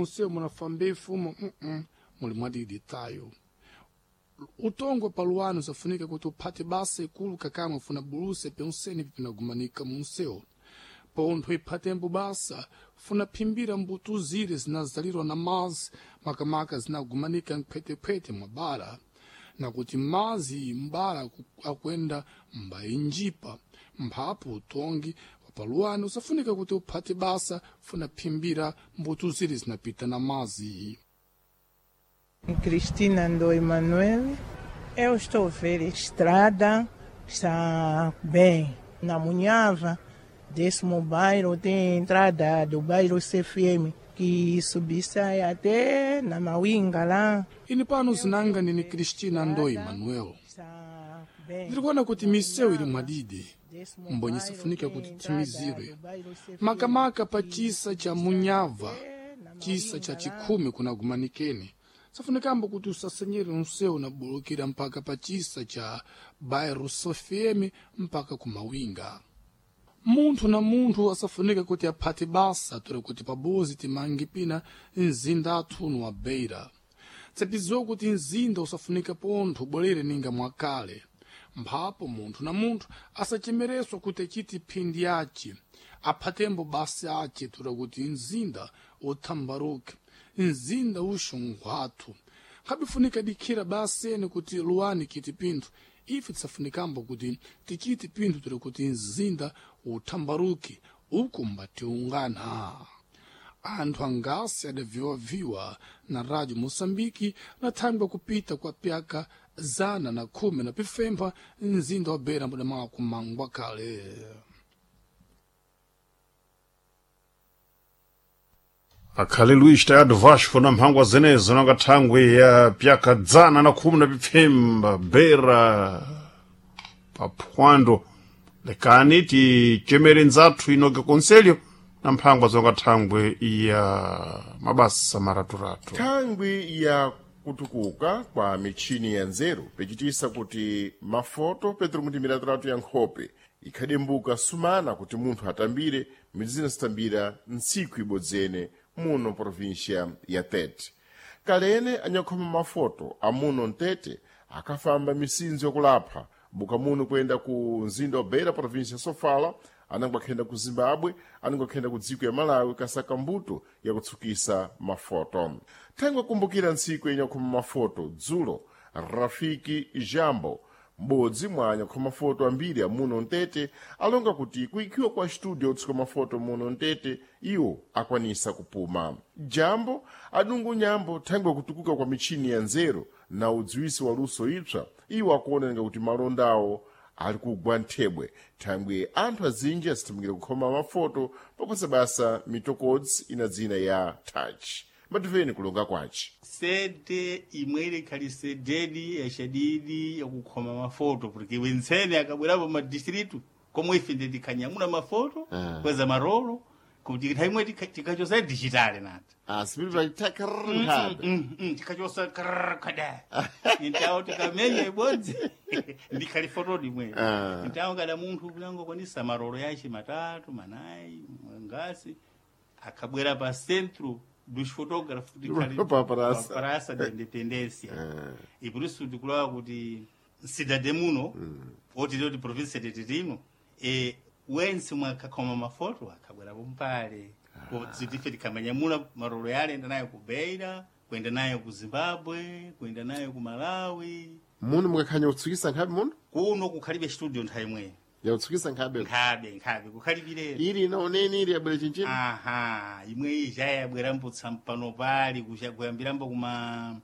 Munsewu munafamba ifumo muli mwadidi tayo. Utongwe paluwani usafunika kuti uphate basa ikulu kakamwe funa buluse penseni pinagumanika munsewu. Pontho iphatembo basa funa phimbira mbuto zire zinazalirwa na mazi makamaka zinagumanika mphwetephwete mwa bara nakuti mazi m'bala akuyenda mbayinjipa mphapo utongi wa paluwani usafunika kuti uphate basa funa phimbira mbuto zire zinapita na mazi. Cristina do Emanuel. Eu estou a ver estrada está bem. Na Munhava, décimo bairro, tem entrada do bairro CFM, que subisse até na Mawinga lá. Ini pano zinanga nini Cristina Ndoi Manuel. Está bem. Ndiri kuti misewu ili mwadidi Décimo mbonye bairro isafunika tem kuti entrada timizirwe do bairro CFM, makamaka pa chisa cha Munyava na chisa cha Mawinga lá. chikhumi kunagumanikeni safunikambo kuti usasenyere unsewu nabulukira mpaka pa chisa cha bairro sofieme mpaka kumawinga. Munthu na munthu asafunika kuti aphate basa tore kuti pabozi timange pina mzinda athuno wa Beira. Tsapiziwa kuti mzinda usafunika pontho ubwerere ninga mwakale. Mphapo munthu na munthu asachemereswa kuti achite phindi yace, aphatembo basa ace tura kuti mzinda uthambaruke, mzinda uxonkhwathu. Nkhabifunika dikhira baseni kuti luwani kiti pinthu, ife tisafunikambo kuti tichite pinthu tura kuti mzinda uthambaruke uku mbatiungana. Anthu angasi adaviwaviwa na rádio Moçambique na thangwi kupita kwa pyaka 110 na pifempha mzinda wa Beira mudamala kumangwa kale. Akhale Luís Tayado Vasco na mphangwa zenezo nanga thangwi ya pyaka 115 Beira paphwando lekani tichemere nzathu inoke konselho na mphangwa zonga thangwi ya mabasa maraturatu. Thangwi ya kutukuka kwa michini ya nzeru pechitisa kuti mafoto petro kuti miraturatu ya nkhope ikhadembuka sumana kuti munthu atambire midzi zitambira ntsiku ibodzene muno província ya Tete. Kalene anyakhoma mafoto amuno mtete akafamba misinzo yakulapha buka muno kuyenda ku mzinda wa Beira província ya Sofala, anango akhenda ku Zimbabwe, anango akhenda ku dziko ya Malawi kasaka mbuto yakutsukisa mafoto. Thangwi akumbukira ntsiku yenyakhoma mafoto dzulo Rafiki Jambo m'bodzi mwa anyakhoma mafoto ambiri amuno mtete alonga kuti kuikhiwa kwa studio yotsuka mafoto muno mtete iwo akwanisa kupuma. Jambo adungu nyambo thangwi kutukuka kwa michini ya nzeru na udziwisi wa luso ipsa iwo akuoneka kuti malondawo ali kugwa nthebwe thangwi anthu azinji asithamukira kukhoma mafoto paposa basa mitokodzi ina dzina ya touch. Mativeni kulonga kwaci. Sede imwe ilekhali sededi yachadidi yakukhoma mafoto porque wentsene akabwerapo madistritu komwe ife ndetikhanyamula mafoto kweza marolo kuti nthawi imwe tikachosa digitale nati. Sipili paitakrnkhabe. Tikachosa krkada ntawo tikamenya ibodzi ndikhali fotodi imweyo. Ntawo kada munthu kunangokwanisa marolo yace matatu manayi ngasi akabwera pa centro dos fotógrafos Pa praça. pa praça da independência e por isso ndikulawa kuti cidade muno oti ndoti província de Tetino e wense mwakakhoma mafoto akabwerapo mpale kuti tikamanyamula marolo yale enda nayo ku Beira kuenda nayo ku Zimbabwe kuenda nayo ku Malawi. Muno mukakhanya kutsukisa nkhabe muno? Kuno kukhalibe studio nthawi imweyo. Yakutsukisa nkhabe. Nkhabe nkhabe kukhalibire. Ili inaoneni ili yabwera chinchini. Aha, imwe iyi jayabwera pano pali kuyambirambo kuma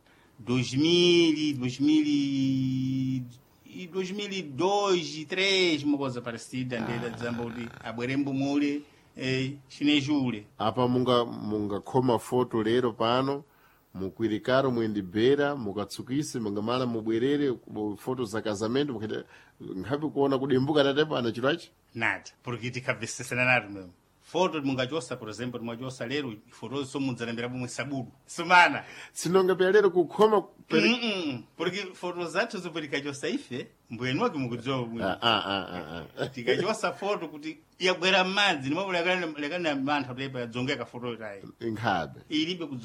2000, 2000, 2002, 3 uma coisa parecida, ndeda dzamba kuti abwerembo mule chinejule. Apa mungakhoma foto lero pano mukwirikaro muyendibhera mukatsukise mungamala mubwerere foto za casamento mukaita nkhabe kuona kudembuka tate pano chiro achi. Nada, porque tikabvesesana nato mesmo. Foto mungachosa, por exemplo, mungachosa lero, foto somudzalembera pomwe sabudu. Sumana. Sinonga pya lero kukhoma pere... Porque foto zathu zomwe tikachosa ife, mbwenu wake mukudziwa bwino. Tikachosa foto kuti yabwera m'madzi nimwe lekana mantha kuti yadzongeka foto itayi. Nkhabe. Ilibe.